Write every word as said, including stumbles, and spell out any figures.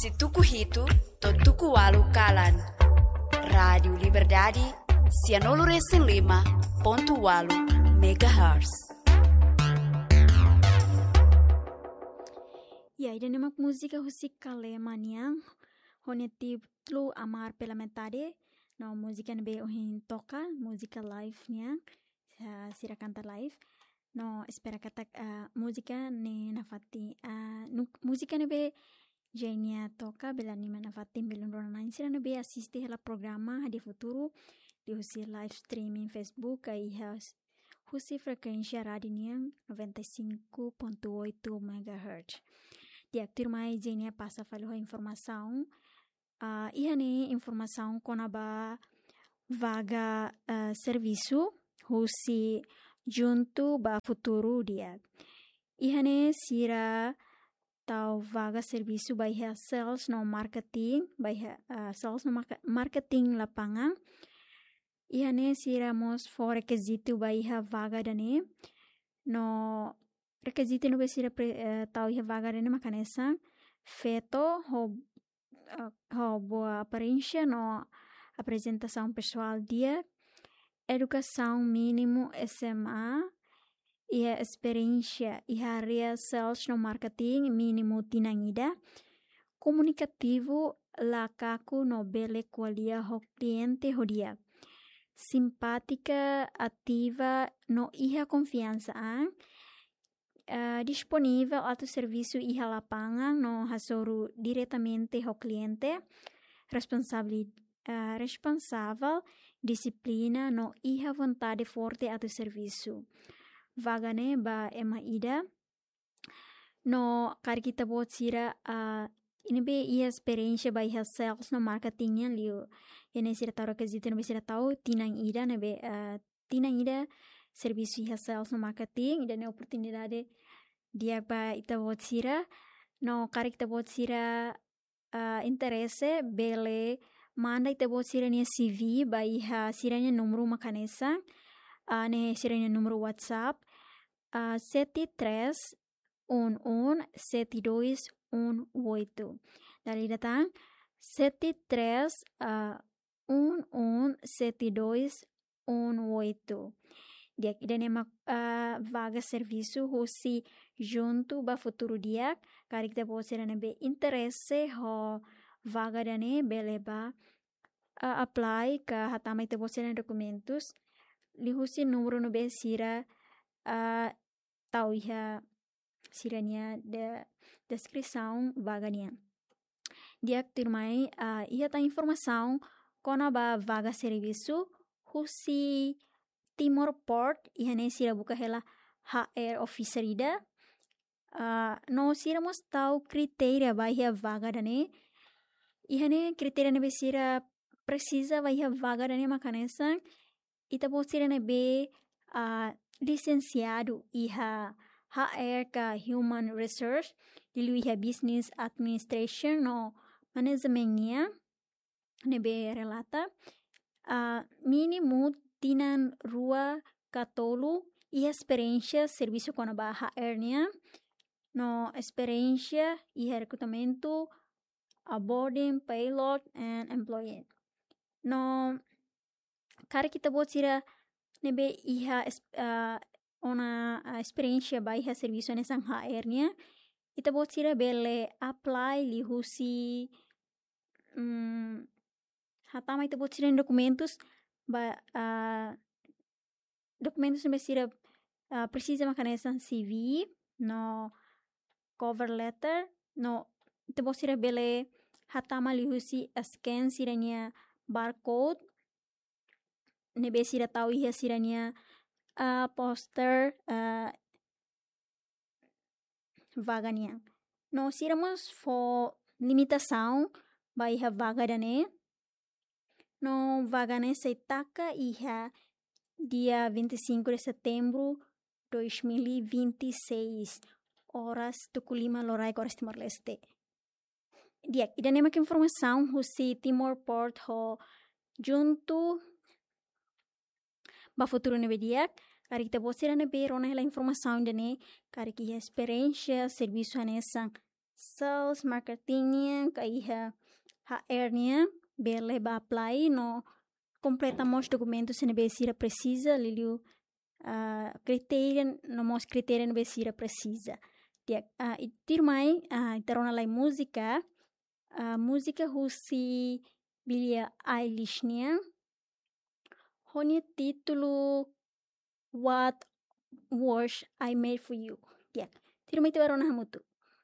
Husi tuku hitu to'o tuku ualu kalan. Rádiu Liberdade, sianulu resin lima pontu ualu megahertz. Ya, ida-ne'e mak múzika husi Kalema nian, ho nia títulu Amar pela Metade, no múzika ne'ebé ohin toka, múzika live nian, ah, sira kanta live. No espera katak, ah, múzika ne'e nafatin, ah, nu-, múzika ne'ebé Jenia toka bele anima nafatin belun rona-na'in sira ne'ebé asiste hela programa hadi'a futuru liuhusi live streaming Facebook ka iha s-, husi frekuénsia rádiu nian noventa e cinco ponto oito megahertz. Di'ak, tuirmai Jenia pasa fali ho informasaun. Ah, iha ne'e informasaun kona-ba vaga, ah, servisu husi Juntu ba Futuru Di'ak. Iha ne'e sira tau vaga servisu ba iha sales no marketing, ba iha, ah, sales no marke-, marketing lapangan. Iha ne'e sira mós fó rekizitu ba iha vaga ida-ne'e. No rekizitu ne'ebé sira pre-, eh, tau iha vaga ida-ne'e mak hanesan: feto ho, eh, ho boa aparénsia no aprezentasaun pesoál di'ak, edukasaun mínimu S M A, iha esperiénsia iha área sales no marketing mínimu tinan ida, komunikativu la kaku no bele ko'alia ho kliente ho di'ak, simpátika, ativa no iha konfiansa an, eh, disponivel atu servisu iha lapangan no hasoru diretamente ho kliente, responsabili-, eh, responsavel, dixiplina no iha vontade forte atu servisu. Vaga ne'e ba ema ida. No karik ita-boot sira, ah, ne'ebé iha esperiénsia ba iha sales no marketing nian, liu iha ne'e sira tau rekizitu ne'ebé sira tau tinan ida ne'ebé, ah, tinan ida servisu iha sales no marketing, ida-ne'e oportunidade di'ak ba ita-boot sira. No karik ita-boot sira, ah, interese, bele manda ita-boot sira-nia C V ba iha sira-nia númeru mak hanesan, ah, ne'e sira-nia númeru WhatsApp, ah, sete três um um sete dois um oito. Dala ida tan, sete três, ah, um um sete dois um oito. Di'ak, ida-ne'e mak, ah, vaga servisu husi Juntu ba Futuru Di'ak. Karik ita-boot sira ne'ebé interese ho vaga ida-ne'e bele bá, ah, apply ka hatama ita-boot sira-nia dokumentus liuhusi númeru ne'ebé sira, ah, tau iha sira-nia de-, deskrisaun vaga nian. Di'ak, tuirmai, ah, iha tan informasaun kona-ba vaga servisu husi Timor Port, iha ne'e sira buka hela H R officer ida. Ah, no sira mós tau kritéria ba iha vaga ida-ne'e. Iha ne'e kritéria ne'ebé sira presiza ba iha vaga ida-ne'e mak hanesan ita-boot sira ne'ebé, ah, lisensiadu iha H R ka Human Resource, liuliu iha Business Administration no Management nian, ne'ebé relata, ah, mínimu tinan rua ka tolu iha esperiénsia servisu kona-ba H R nian, no esperiénsia iha rekrutamentu, onboarding, payroll and employee. No karik ita-boot sira ne'ebé iha es-, ah, ona, ah, esperiénsia ba iha servisu hanesan H R nian, ita-boot sira bele apply liuhusi, mm, hatama ita-boot sira-nia dokumentus ba, ah, dokumentus ne'ebé sira, ah, presiza mak hanesan C V no cover letter, no ita-boot sira bele hatama liuhusi scan sira-nia barcode ne'ebé sira tau iha sira-nia, ah, poster, ah, vaga nian. No sira mós fó limitasaun ba iha vaga ida-ne'e. No vaga ne'e sei taka iha dia vinte e cinco de setembro dois mil e vinte e seis, oras tuku lima loraik oras Timor-Leste. Di'ak, ida-ne'e mak informasaun husi Timor Port ho Juntu ba Futuru ne'ebé di'ak. Karik ita-boot sira ne'ebé rona hela informasaun ida-ne'e, karik iha esperiénsia servisu hanesan sales, marketing nian, ka iha H R nian, bele ba apply no kompleta mós dokumentu sira ne'ebé sira presiza, liuliu ah, kritéria, no mós kritéria ne'ebé sira presiza. Di'ak, ah, i tuirmai, ah, ita rona lai múzika, ah, múzika husi Billie Eilish nian, ho nia títulu What Was I Made For You. Di'ak, tuirmai ita ba rona hamutuk.